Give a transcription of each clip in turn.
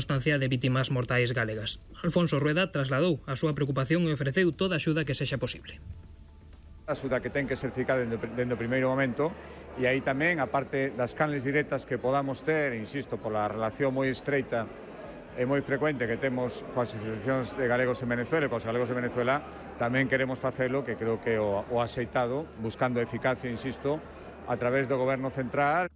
constancia de vítimas mortais galegas. Alfonso Rueda trasladou a súa preocupación e ofreceu toda a axuda que sexa posible. A axuda que ten que ser ficada dende o primeiro momento, e aí tamén, a parte das canles directas que podamos ter, insisto, pola relación moi estreita e moi frecuente que temos coas asociacións de galegos en Venezuela e coas galegos de Venezuela, tamén queremos facelo, que creo que o axeitado, buscando eficacia, insisto, a través do Goberno Central.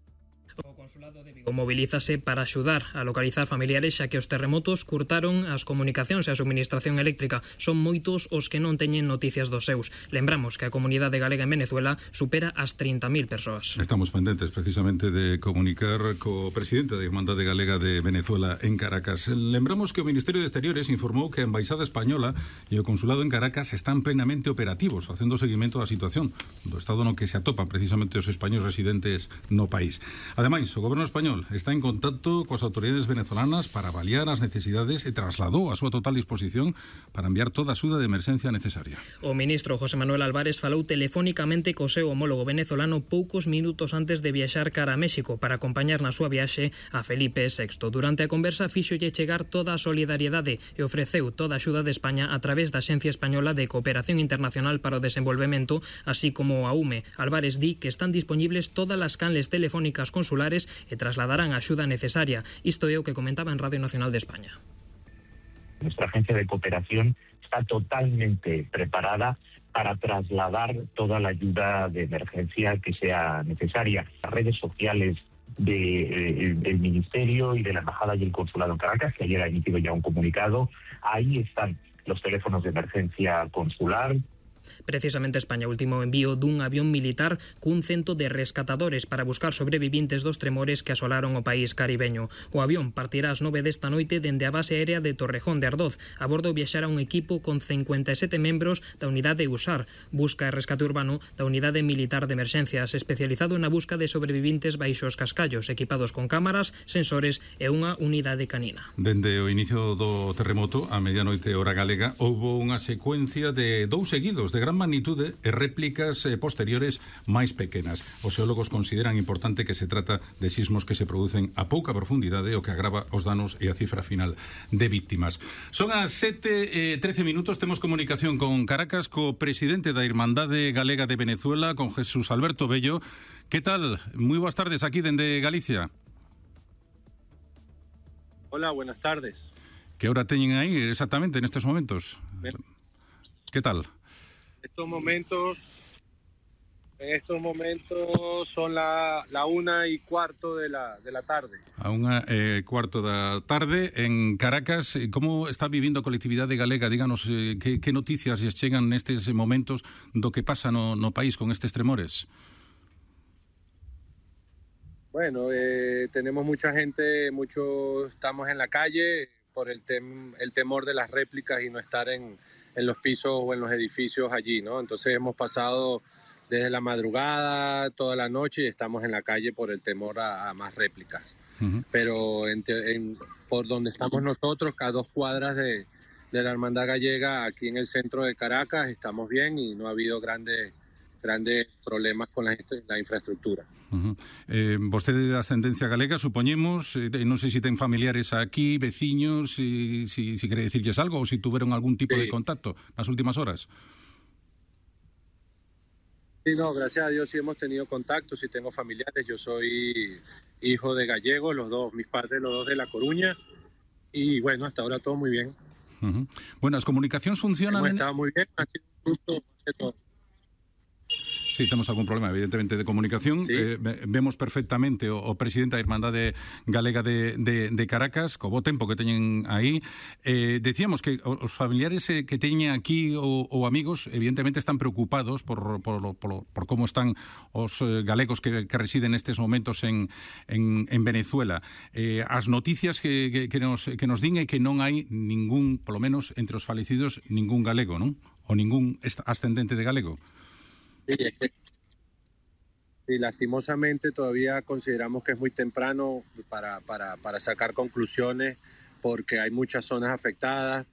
O Consulado de Vigo mobilízase para axudar a localizar familiares xa que os terremotos curtaron as comunicacións e a suministración eléctrica. Son moitos os que non teñen noticias dos seus. Lembramos que a comunidade galega en Venezuela supera as 30.000 persoas. Estamos pendentes precisamente de comunicar co presidente da Irmandade Galega de Venezuela en Caracas. Lembramos que o Ministerio de Exteriores informou que a Embaixada Española e o Consulado en Caracas están plenamente operativos, facendo seguimento da situación do estado no que se atopan precisamente os españois residentes no país. Ademais, o Goberno español está en contacto coas autoridades venezolanas para avaliar as necesidades e trasladou a súa total disposición para enviar toda a axuda de emerxencia necesaria. O ministro José Manuel Álvarez falou telefónicamente co seu homólogo venezolano poucos minutos antes de viaxar cara a México para acompañar na súa viaxe a Felipe VI. Durante a conversa fíxolle chegar toda a solidariedade e ofreceu toda a axuda de España a través da Axencia Española de Cooperación Internacional para o Desenvolvemento, así como a UME. Álvarez di que están disponibles todas as canles telefónicas consulares e trasladarán a axuda necesaria. Isto é o que comentaba en Radio Nacional de España. Nuestra agencia de cooperación está totalmente preparada para trasladar toda la ayuda de emergencia que sea necesaria. Las redes sociales del Ministerio y de la Embajada y el Consulado en Caracas, que ayer ha emitido ya un comunicado, ahí están los teléfonos de emergencia consular. Precisamente España último envío dun avión militar cun cento de rescatadores para buscar sobrevivintes dos tremores que asolaron o país caribeño. O avión partirá ás 9 desta noite dende a base aérea de Torrejón de Ardoz. A bordo viaxará un equipo con 57 membros da unidade USAR, Busca e Rescate Urbano, da Unidade Militar de Emerxencias, especializado na busca de sobrevivintes baixo os cascallos, equipados con cámaras, sensores e unha unidade canina. Dende o inicio do terremoto, a medianoite hora galega, houbo unha secuencia de dous seguidos de gran magnitude e réplicas posteriores máis pequenas. Os xeólogos consideran importante que se trata de sismos que se producen a pouca profundidade, o que agrava os danos e a cifra final de víctimas. Son as 7:13 minutos, temos comunicación con Caracas, co presidente da Irmandade Galega de Venezuela, con Jesús Alberto Bello. Que tal? Moi boas tardes aquí dende Galicia. Hola, buenas tardes. Que hora teñen aí exactamente nestes momentos? Bien. Que tal? En estos momentos son la 1:15 de la tarde. A 1:15 da tarde en Caracas. Como está vivindo a colectividade galega? Díganos que noticias lles chegan nestes momentos do que pasa no país con estes tremores. Bueno, tenemos mucha gente, estamos en la calle por el temor de las réplicas y no estar en los pisos o en los edificios allí, ¿no? Entonces hemos pasado desde la madrugada, toda la noche, y estamos en la calle por el temor a más réplicas. Uh-huh. Pero por donde estamos nosotros, a 2 cuadras de la Hermandad Gallega, aquí en el centro de Caracas, estamos bien y no ha habido grandes problemas con la infraestructura. Uh-huh. Vostede de ascendencia galega, supoñemos, non sei se ten familiares aquí, veciños, si quere dicirlles algo ou si tuveron algún tipo de contacto nas últimas horas. Sí, no, gracias a Dios sí hemos tenido contacto, sí tengo familiares, yo soy hijo de gallegos, mis padres los dos de La Coruña, y bueno, hasta ahora todo muy bien. Uh-huh. Bueno, as comunicacións funcionan... Está muy bien, ha sido un susto de todo. Sí, temos algún problema, evidentemente, de comunicación. Sí. Vemos perfectamente o presidente da Irmandade Galega de Caracas, co bo tempo que teñen aí. Decíamos que os familiares que teñen aquí ou amigos, evidentemente, están preocupados por como están os galegos que residen nestes momentos en Venezuela. As noticias que nos din é que non hai ningún, polo menos entre os falecidos, ningún galego, non? Ou ningún ascendente de galego. Sí, lastimosamente todavía consideramos que es muy temprano para sacar conclusiones porque hay muchas zonas afectadas,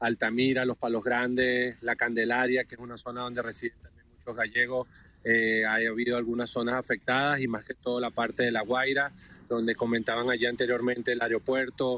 Altamira, Los Palos Grandes, La Candelaria, que es una zona donde residen también muchos gallegos, ha habido algunas zonas afectadas y más que todo la parte de La Guaira, donde comentaban allí anteriormente el aeropuerto,